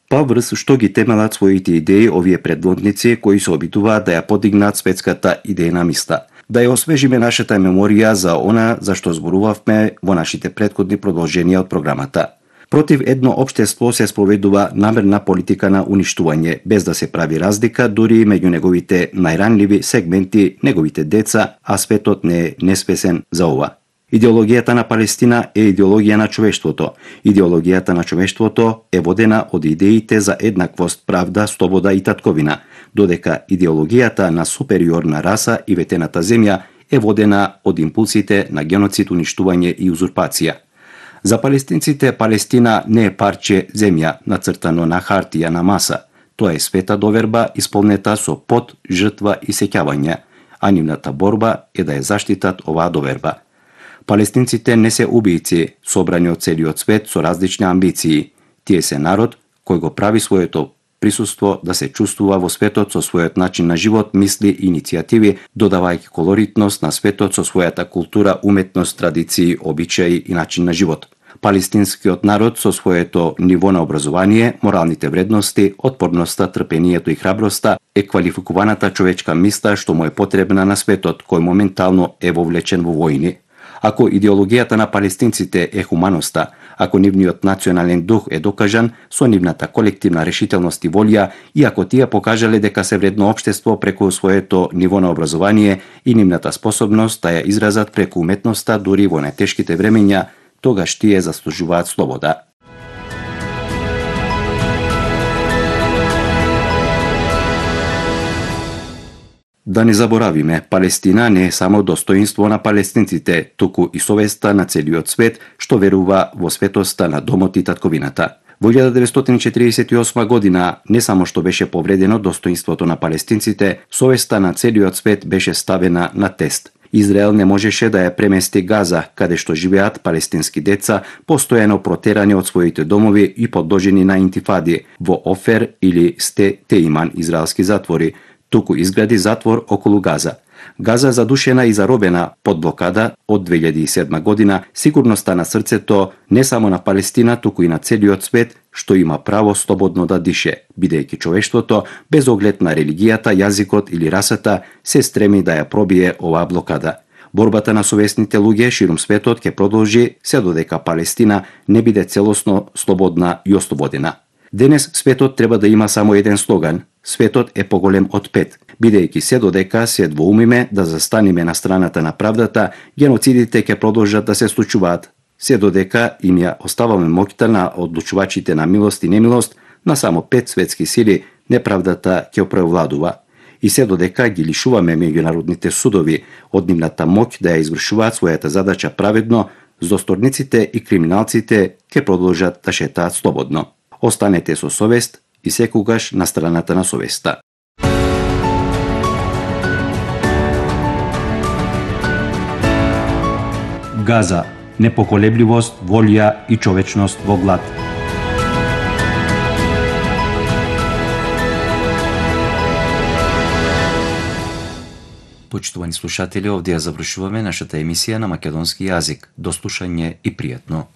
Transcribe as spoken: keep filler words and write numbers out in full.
Па врз што ги темелат своите идеи овие предводници кои се обидуваат да ја подигнат светската идејна мисла. Да ја освежиме нашата меморија за она за што зборувавме во нашите претходни продолженија од програмата. Против едно општество се спроведува намерна политика на уништување, без да се прави разлика дури меѓу неговите најранливи сегменти, неговите деца, а светот не е неспесен за ова. Идеологијата на Палестина е идеологија на човештвото. Идеологијата на човештвото е водена од идеите за еднаквост, правда, слобода и татковина, додека идеологијата на супериорна раса и ветената земја е водена од импулсите на геноцид, уништување и узурпација. За палестинците Палестина не е парче земја нацртано на хартија на маса. Тоа е света доверба исполнета со пот, жртва и сеќавање, а нивната борба е да ја заштитат оваа доверба. Палестинците не се убијци, собрани од целиот свет со различни амбиции. Тие се народ кој го прави своето присуство да се чувствува во светот со својот начин на живот, мисли и иницијативи, додавајќи колоритност на светот со својата култура, уметност, традиции, обичаи и начин на живот. Палестинскиот народ со своето ниво на образование, моралните вредности, отпорноста, трпението и храброста е квалификуваната човечка мисла што му е потребна на светот кој моментално е вовлечен во војни. Ако идеологијата на палестинците е хуманоста, ако нивниот национален дух е докажан со нивната колективна решителност и волја, и ако тие покажале дека се вредно општество преку своето ниво на образование и нивната способност да ја изразат преку уметноста дури во најтешките времења, тогаш тие заслужуваат слобода. Да не заборавиме, Палестина не е само достоинство на палестинците, туку и совеста на целиот свет што верува во светоста на домот и татковината. Во илјада деветстотини четиридесет и осма година не само што беше повредено достоинството на палестинците, совеста на целиот свет беше ставена на тест. Израел не можеше да ја премести Газа, каде што живеат палестински деца, постојано протерани од своите домови и подложени на интифади во Офер или Сте Теиман израелски затвори, туку изгради затвор околу Газа. Газа задушена и заробена под блокада од две илјади и седма година, сигурно стана срцето не само на Палестина, туку и на целиот свет, што има право слободно да дише, бидејќи човештвото, без оглед на религијата, јазикот или расата, се стреми да ја пробие оваа блокада. Борбата на совесните луѓе ширум светот ќе продолжи се додека Палестина не биде целосно слободна и ослободена. Денес светот треба да има само еден слоган: светот е поголем од пет. Бидејќи се додека се двоумиме да застаниме на страната на правдата, геноцидите ќе продолжат да се случуваат. Се додека им ја оставаме моќта на одлучувачите на милост и немилост, на само пет светски сили, неправдата ќе превладува. И се додека ги лишуваме меѓународните судови од нивната моќ да ја извршуваат својата задача праведно, злосторниците и криминалците ќе продолжат да шетаат слободно. Останете со совест и секогаш на страната на совеста. Газа, непоколебливост, волја и човечност во глад. Почитувани слушатели, овде ја завршуваме нашата емисија на македонски јазик. До слушање и пријатно.